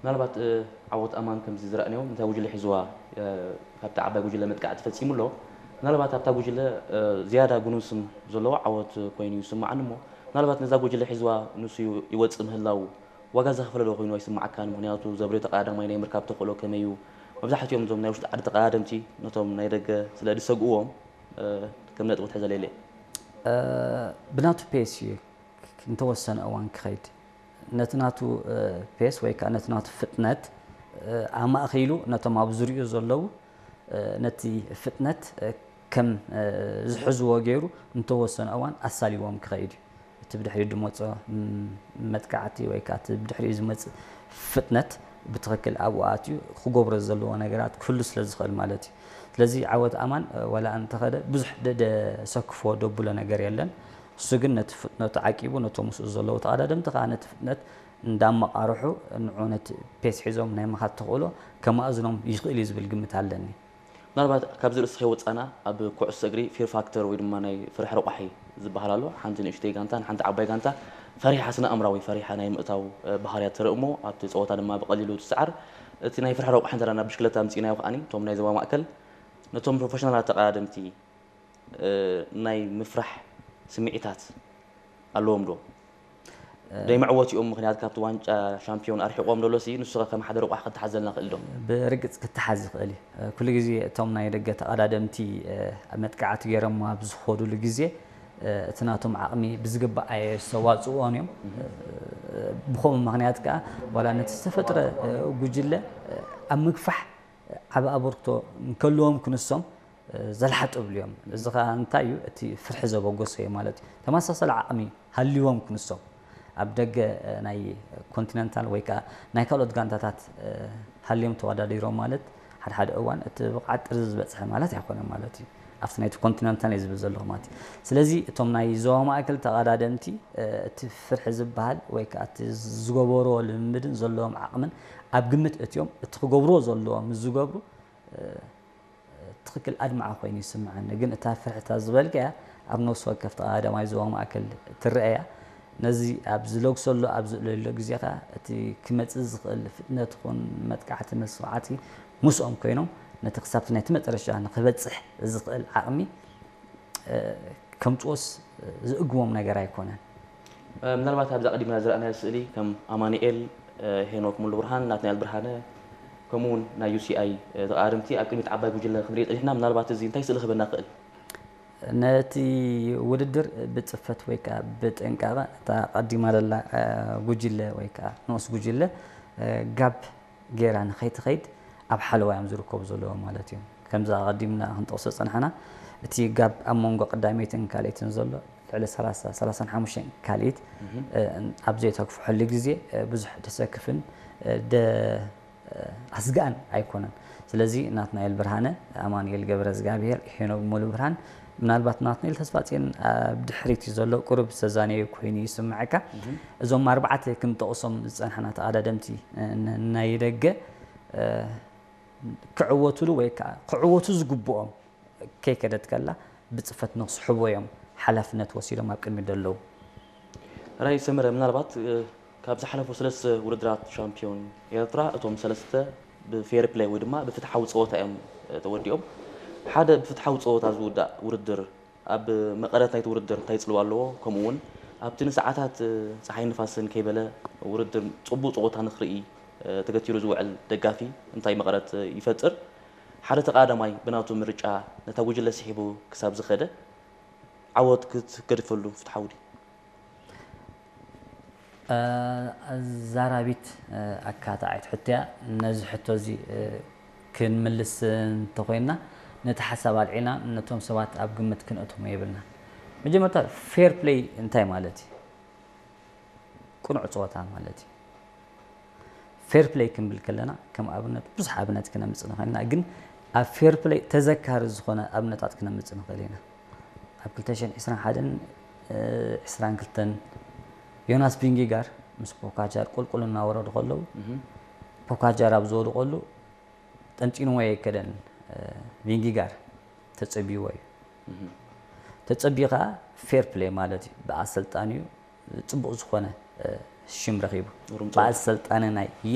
ምናልባት ዓወት ኣማን ከምዚ ዝረኣናዮ ነታ ጉጅለ ሒዝዋ ካብቲ ዓባይ ጉጅለ መጥቃዕቲ ፈፂሙ ኣሎ። ምናልባት ኣብታ ጉጅለ ዝያዳ ግኑን ስም ዘለዎ ዓወት ኮይኑ ይስምዓኒ እሞ ምናልባት ነዛ ጉጅለ ሒዝዋ ንሱ ይወፅእ ምህላው ዋጋ ዘኽፈለ ዶ ኮይኑ ኣይስምዓካን? ምኽንያቱ ዘብርዮ ተቐዳዳማይ ናይ ምርካብ ተኽእሎ ከመይ እዩ? መብዛሕትኦም እዞም ናይ ውሽጢ ዓዲ ተቐዳደምቲ ነቶም ናይ ደገ ስለ ዝሰግእዎም ከም ነጥቢ ትሕዘለይ ኢለ። ብናቱ ፔስ እዩ እንተወሰነ እዋን ክኸይድ ነቲ ናቱ ፔስ ወይ ከዓ ነቲ ናቱ ፍጥነት ኣማእኺሉ ነቶም ኣብ ዙሪኡ ዘለዉ ነቲ ፍጥነት ከም ዝሕዝዎ ገይሩ እንተወሰነ እዋን ኣሳሊዎም ክኸይድ እዩ። እቲ ብድሕሪኡ ዝመፅኦ መጥቃዕቲ ወይ ከዓ እቲ ብድሕሪኡ ዝመፅእ ፍጥነት ብትኽክል ኣብኡ ኣትዩ ክገብሮ ዘለዎ ነገራት ክህሉ ስለ ዝኽእል ማለት እዩ። ስለዚ ዓወት ኣማን ዋላ እንተኸደ ብዙሕ ደሰክፎ ደብሎ ነገር የለን። እሱ ግን ነቲ ፍጥነቱ ዓቂቡ ነቶም ምስኡ ዘለዉ ተቐዳደምቲ ከዓ ነቲ ፍጥነት እንዳመቓርሑ ንዑ ነቲ ፔስ ሒዞም ናይ ምኻድ ተኽእሎ ከማእዝኖም ይኽእል እዩ ዝብል ግምት ኣለኒ። ምናልባት ካብዚ ርእሲ ከይወፃና ኣብ ኩዕሶ እግሪ ፊር ፋክተር ወይ ድማ ናይ ፍርሒ ረቋሒ ዝበሃል ኣሎ። ሓንቲ ንእሽተይ ጋንታን ሓንቲ ዓባይ ጋንታ ፈሪሓ ስነ ኣእምራዊ ፈሪሓ ናይ ምእታው ባህርያት ትርኢ እሞ ኣብቲ ፀወታ ድማ ብቐሊሉ ትስዓር። እቲ ናይ ፍርሒ ረቋሒ እንተዳና ብሽክለታ ኣምፂእናዮ ከዓኒ እቶም ናይ ዞባ ማእከል ነቶም ፕሮፌሽናላት ተቐዳደምቲ ናይ ምፍራሕ ስምዒታት ኣለዎም ዶ? ደይ መዕወት እዮም ምክንያት ካብቲ ዋንጫ ሻምፒዮን ኣርሒቆም ደሎ ሲ ንሱ ከም ሓደ ረቋሕ ክተሓዘልና ክእል ዶ? ብርግፅ ክተሓዝ ይኽእል እዩ። ኩሉ ግዜ እቶም ናይ ደገ ተቐዳደምቲ መጥቃዕቲ ገይሮም ኣብ ዝኸዱሉ ግዜ እቲ ናቶም ዓቕሚ ብዝግባእ ኣየስተዋፅእዎን እዮም። ብኸምኡ ምክንያት ከዓ ዋላ ነቲ ዝተፈጥረ ጉጅለ ኣብ ምግፋሕ ዓብ ኣበርክቶ እንከልዎም ክንሶም ዘልሓጥብሉ እዮም። እዚ ከዓ እንታይ እዩ? እቲ ፍርሒ ዘበገሶ እዩ ማለት እዩ። ተመሳሳሊ ዓቕሚ ሃልይዎም ክንሶም ኣብ ደገ ናይ ኮንቲነንታል ወይ ከዓ ናይ ካልኦት ጋንታታት ሃልዮም ተወዳዲሮም ማለት ሓደ ሓደ እዋን እቲ ብቕዓት ጥርዚ ዝበፅሐ ማለት ኣይኮነን ማለት እዩ። ኣብቲ ናይቲ ኮንቲነንታል እዩ ዝብል ዘለኹ ማለት እዩ። ስለዚ እቶም ናይ ዞባ ማእከል ተቐዳደምቲ እቲ ፍርሒ ዝበሃል ወይ ከዓ እቲ ዝገበርዎ ልምምድን ዘለዎም ዓቕምን ኣብ ግምት እትዮም እቲ ክገብርዎ ዘለዎም ምስ ዝገብሩ ትኽክል ኣድማዒ ኮይኑ ይስምዓኒ። ግን እታ ፍርሕታ ዝበልካያ ኣብ ነፍሲ ወከፍ ተቐዳዳማይ ዞባ ማእከል ትረኣያ። ነዚ ኣብ ዝለግሰሉ ኣብ ዝእለሎ ግዜ ከኣ እቲ ክመጽእ ዝኽእል ፍጥነት ይኹን መጥቃዕቲ መስዋዕቲ ምስኦም ኮይኖም ነቲ ክሳብቲ ናይቲ መጨረሻ ንኽበጽሕ ዝኽእል ዓቕሚ ከምጽኦስ ዝእግቦም ነገር ኣይኮነን። ምናልባት ኣብዚ ኣቐዲምና ዝረኣናዮ ስእሊ ከም ኣማኑኤል፣ ሄኖክ ሙሉብርሃን፣ ናትናኤል ብርሃነ ከምኡ እውን ናይ ዩ ሲ ኣይ ተቐዳደምቲ ኣብ ቅድሚት ዓባይ ጉጅለ ክንርኢ ጸኒሕና። ምናልባት እዚ እንታይ ስእሊ ክህበና ይኽእል? ነቲ ውድድር ብጽፈት ወይ ከዓ ብጥንቃቐ እታ ቀዲማ ዘላ ጉጅለ ወይ ከዓ ንኡስ ጉጅለ ጋብ ጌራ ንኸይትኸይድ ኣብ ሓለዋ እዮም ዝርከቡ ዘለዉ ማለት እዩ። ከምዚ ኣቐዲምና ክንጠቕሶ ዝጸናሕና እቲ ጋብ ኣብ መንጎ ቀዳመይትን ካልኣይትን ዘሎ ልዕሊ ሰላሳ ሰላሳን ሓሙሽተን ካልኢት ኣብ ዘይተግፍሐሉ ግዜ ብዙሕ ደሰክፍን ኣስጋእን ኣይኮነን። ስለዚ ናትናኤል ብርሃነ፣ ኣማኑኤል ገብረዝጋብሄር፣ ሄኖክ ሙሉብርሃን ምናልባት ናትናኤል ተስፋጽዮን ኣብ ድሕሪት እዩ ዘሎ ቁሩብ ዝተዛነየ ኮይኑ ይስምዓካ። እዞም ኣርባዕተ ክንጠቕሶም ዝጸናሕና ተቐዳደምቲ ናይ ደገ ክዕወቱሉ ወይ ከዓ ክዕወቱ ዝግብኦም ከይከደት ከላ ብጽፈት ንክስሕቦ እዮም ሓላፍነት ወሲዶም ኣብ ቅድሚት ዘለዉ። ራይ ሰመረ ምናልባት ካብ ዝሓለፉ ሰለስተ ውድድራት ሻምፒዮን ኤርትራ እቶም ሰለስተ ብፌር ፕለይ ወይ ድማ ብፍትሓዊ ፀወታ እዮም ተወዲኦም። ሓደ ብፍትሓዊ ፀወታ ዝውዳእ ውድድር ኣብ መቐረት ናይቲ ውድድር እንታይ ፅልዋ ኣለዎ? ከምኡ እውን ኣብቲ ንሰዓታት ፀሓይ ንፋስን ከይበለ ውድድር ፅቡቅ ፀወታ ንክርኢ ተገቲሩ ዝውዕል ደጋፊ እንታይ መቐረት ይፈጥር? ሓደ ተቐዳዳማይ ብናቱ ምርጫ ነታ ጉጅለ ስሒቡ ክሳብ ዝኸደ ዓወት ክትገድፈሉ ፍትሓዊ ድዩ? ኣዛራቢት ኣካታዓይት ሕቶ እያ። ነዚ ሕቶ እዚ ክንምልስ እንተኾይንና ነቲ ሓሳብ ኣልዒልና ነቶም ሰባት ኣብ ግምት ክንእቶም የብልናን። መጀመርታ ፌር ፕለይ እንታይ ማለት እዩ? ቅኑዕ ፀወታ ማለት እዩ። ፌር ፕለይ ክንብል ከለና ከም ኣብነት ብዙሕ ኣብነት ክነምፅእ ንኽእል ኢና፣ ግን ኣብ ፌር ፕለይ ተዘካሪ ዝኾነ ኣብነታት ክነምፅእ ንኽእል ኢና። ኣብ ክልተ ሽሕን ዕስራን ሓደን ዕስራን ክልተን ዮናስ ቪንጊጋር ምስ ፖካጃር ቁልቁል እናወረዱ ከለዉ ፖካጃር ኣብ ዝወድቀሉ ጠንጢንዎ ኣይከደን። ቪንጊጋር ተፀቢዎ እዩ። ተፀቢዩ ከዓ ፌር ፕሌይ ማለት እዩ። ብኣሰልጣኒኡ ፅቡቕ ዝኾነ ሽም ረኺቡ። ብኣሰልጣኒ ናይ